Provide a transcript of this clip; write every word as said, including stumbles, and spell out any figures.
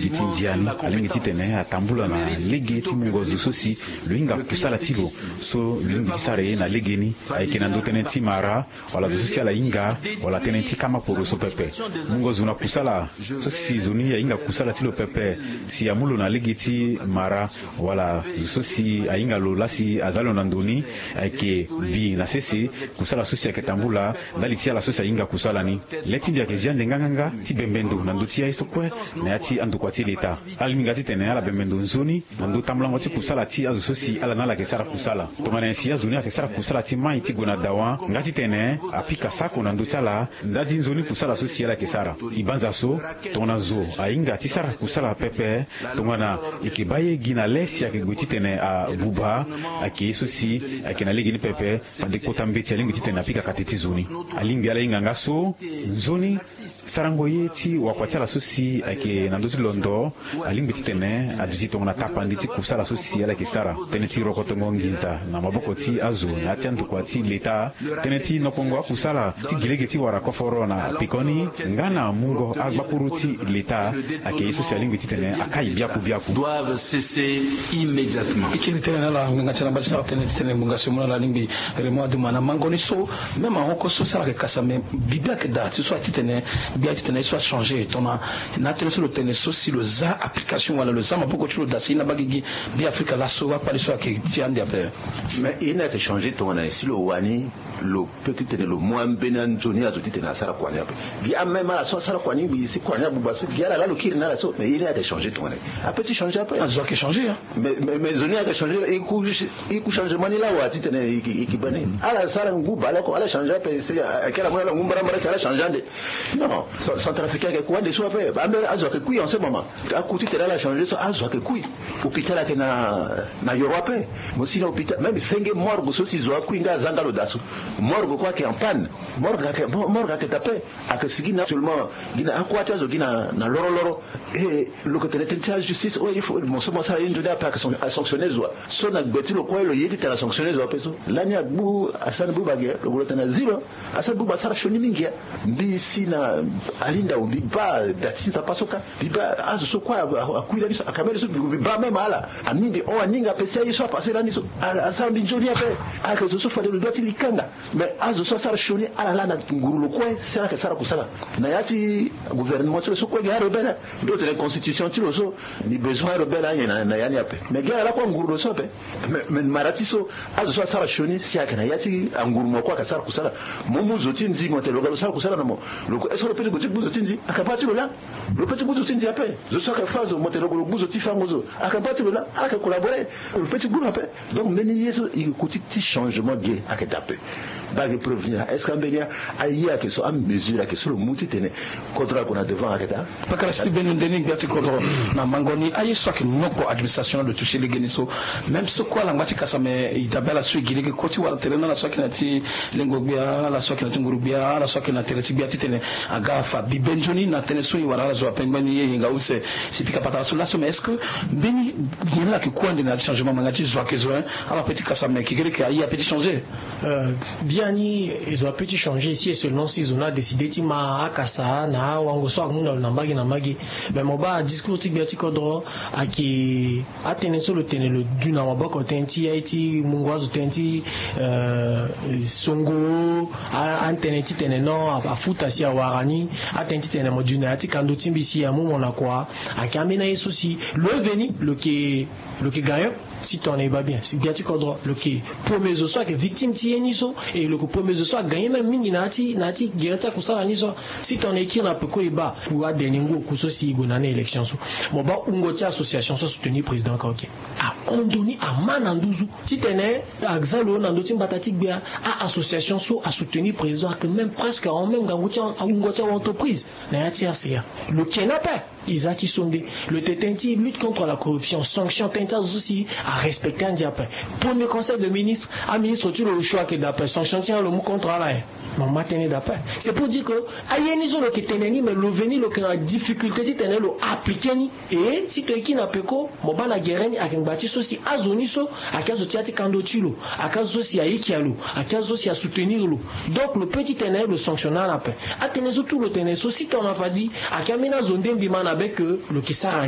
Ti ndia ni alingbi titene atambula na lege ti mungo zo so si lo hinga kusala ti lo so lo lingbi ti sara ye na legeni. Ayeke na ndö tënë ti mara wala zo so si ala hinga wala tënë ti kama poro so pepe. Mungo zo na kusala so si zo ni ahinga kusala ti lo pepe si amu lo na lege ti mara wala zo so si ahinga lo laa si aza lo na ndo ni. Ayeke bi na sese kusala so si ayeke tambula ndali ti ala so si ahinga kusala ni. Le ti mbi ayeke zia ande nganganga ti bembe ndo na ndö ti aye so kue na ya ti andokua ti leta. Ala lingbi nga titene ala bembe ndo nzoni na ndö tambulango ti kusala ti azo so si ala na ala yeke sara kusala. Tongana nyen si azo ni ayeke sara kusala ti mai ti gue na dawa nga titene apika sako na ndö ti ala nda ti nzoni kusala so si ala yeke sara. E banza so tongana zo ahinga ti sara kusala pepe, tongana e yeke baa ye gi na le si ayeke gue titene abuba, ayeke ye so si ayeke na lege ni pepe. Fade kota mbeti alingbi titene apika kate ti zo ni. Alingbi ala hinga nga so nzoni sarango ye ti wakua ti ala so si ayeke na ndö ti londo. Alingbi titene aduti tongana tapandi ti kusala so si ala yeke sara. Tënë ti rokotongo nginza na maboko ti azo na ya ti andokua ti leta. Tënë ti nokongo akusala ti gi lege ti wara koforo na pekoni nga na mungo agbakuru ti leta. Ayeke ye so si alingbi titene akai biaku biaku. Doivent cesser immédiatement. E kiri tënë na ala ngbanga ti ala mba ti sara tënë titene ngbonga so e mu na ala alingbi Raymond Adouma na mango ni so. Même ahon oko so si ala yeke kasa me bibe ayeke daa ti so atitene gbia titene ye so achangé tongana na tënë so lo tene so si lo za application wala lo za maboko ti lo daa si ye na baa gigi. Be afrika laso akpali so ayeke ti ande ape. Mais ye ni ayeke changé tongana nyen si lo wani lo peut titene lo mu ambeni anzoni azo titene asara kua ni ape. Gi ameme ala so asara kua ni ngbii si kua ni abuba so gi ala laa lo kiri na ala so mais ye ni ayeke changé tongana nyen? Ape ti changé ape. Azo ayeke changé. Mais mais mais zo ni ayeke changé. E ku changement ni laa wa titene e ke baa ni ala sara ngu baleoko ala changé ape si ayeke ala mu na ala ngu mbarambara si ala changé ande. Non. Centrafricain ayeke ku ande so ape. Ambeni azo ayeke kui en ce moment. Aku titene ala changé so azo ayeke kui. Hôpital ayeke na na yoro ape. Mo si na hôpital même senge morgue so si zo akui nga aza nga lo daa so. Morgue kue ayeke en panne. Morgue ayeke morgue ayeke daa ape. Ayeke sigi na actuellement gi na akua ti azo gi na loroloro. E lo yeke tene tënë ti ajustice oyo il faut mo so mo sara ye nzoni ape ayeke asanctionné zo wa so na gbe ti lo kue lo ye titene asanctionné zo ape so lani agbu asara ni buba ge lo gue lo tene azi lo. Asara buba asara sioni mingi. Mbi si na ali ndau mbi baa da ti nzapa so kâ. Mbi baa azo so kue akui lani so akambeni so mbi baa même ala ami mbi hon aninga ape si aye so apase lani so. Asara mbi nzoni ape. Ayeke zo so fade lo dua ti li kanga. Mais azo so asara sioni ala laa na nguru lo kue si ala yeke sara kusala na ya ti gouvernement ti lo so kue gi arebelle. Mbi lo tene constitution ti lo so mbi besoin arebelle anyen na ya ni ape. Mais gi ala laa kue anguru lo so ape. Mais mara ti so azo so asara sioni si ayeke na ya ti anguru mo kue ayeke sara kusala. Mo mu zo ti nzi mo tene lo ga lo sara kusala na mo. Lo kue est ce que lo pe ti gue ti gbu zo ti nzi? Ayeke baa ti lo laa. Lo pe ti gbu zo ti nzi ape. Zo so ayeke fa zo mo tene lo gue lo gbu zo ti fango zo. Ayeke baa ti lo laa. Ala yeke collaborer. Lo pe ti gbu lo ape. Donc mbeni ye so e ko ti ti changement ge ayeke daa ape. Baa ge preuve ni laa est ce que ambeni aye ayeke so amesure ayeke so lo mu titene kodro ague na devant ayeke daa. Pakara si ti beni nde ni gbia ti kodro na mango ni aye so ayeke nokpo administration lo touché legeni so. Même so kue ala ngba ti kasa me e dabe ala so e gi lege kue ti wara tere na ala so ayeke na ti lengo gbia ala so ayeke na ti nguru gbia ala so ayeke na tere ti gbia titene aga afa bibe nzoni na tënë so e wara ala zo ape ngbani ye yenga use. Si pika patara so laso mais est ce que mbeni nyen la ayeke ku ande na ya ti changement ma nga ti zo ayeke zo hein? Ala pe ti kasa me kekereke aye ape ti changé. Biani e zo ape ti changé si e selon si zo ni adécidé ti ma akasa na awango so amu na lo na mbage na mbage. Mais mo baa discours ti gbia ti kodro ayeke atënë so lo tene lo du na maboko tënë ti aye ti mungo azo tënë ti songo. Atënë titene non afuta si awara ni. Atënë titene mo du na ya ti kando ti mbi si amu mo na kua. Ayeke ambeni aye so si lo ye veni lo yeke lo yeke gagnant. Si tongana e baa bien si gbia ti kodro lo yeke premier zo so ayeke victime ti ye ni so. E lo yeke premier zo so agagne même mingi na ya ti na ya ti gere ti akusala ni so. Si tongana e kiri na peko e baa ku aderni ngu oku so si e gue na ni élection so. Mo baa wungo ti association so asoutenir président kaoke. Ahon ndo ni ama na nduzu titene aza lo na ndö ti mbata ti gbia. A-association so asoutenir président ayeke même presque ahon même ngangu ti awungo ti aentreprise. Na ya ti rca lo ke ni ape. E za ti so nde lo tene tënë ti lutte contre la corruption sanction tënë ti azo so si arespecte andia ape. Premier conseil de ministre aministre ti lo osio ayeke daa ape sanction ti nyen lo mu contre ala nyen? Mo ma tënë daa ape. C'est pour dire que aye ni so lo yeke tene ni mais lo veni lo yeke na difficulté titene lo appliqué ni. E si to e kiri na peko mo baa na gere ni ayeke ngba ti so si azo ni so ayeke azo ti ya ti kando ti lo. Ayeke azo so si ayeke ya lo. Ayeke azo so si asoutenir lo. Donc lo pe titene lo sanctionne ala ape. Atënë so tout lo tene so si tongana fadi ayeke ambeni azo nde mbi ma na be ke lo yeke sara.